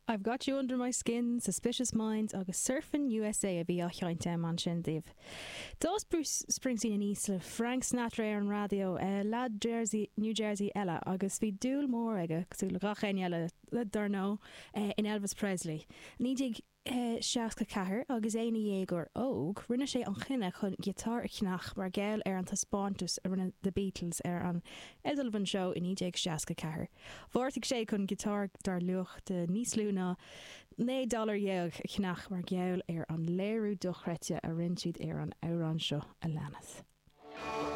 I've Got You Under My Skin, Suspicious Minds agus Surfin' USA a bhí á sheinnt agam ansin daoibh. D'fhás Bruce Springsteen aníos le Frank Sinatra ar an raidió, leaid Jersey, New Jersey eile, agus bhí dúil mhór aige, cosúil le gach éinne eile, dar ndóigh, in Elvis Presley. 1964, agus é ina dhéagóir óg, rinne sé an chinneadh chun giotár a cheannach mar gheall ar an taispeántas a rinne The Beatles ar an Ed Sullivan Show i 1964. Bheartaigh sé chun giotár dar luach de níos lú ná 19 dollar a cheannach mar gheall ar an léiriú dochreidte a rinne siad ar an amhrán seo a leanas.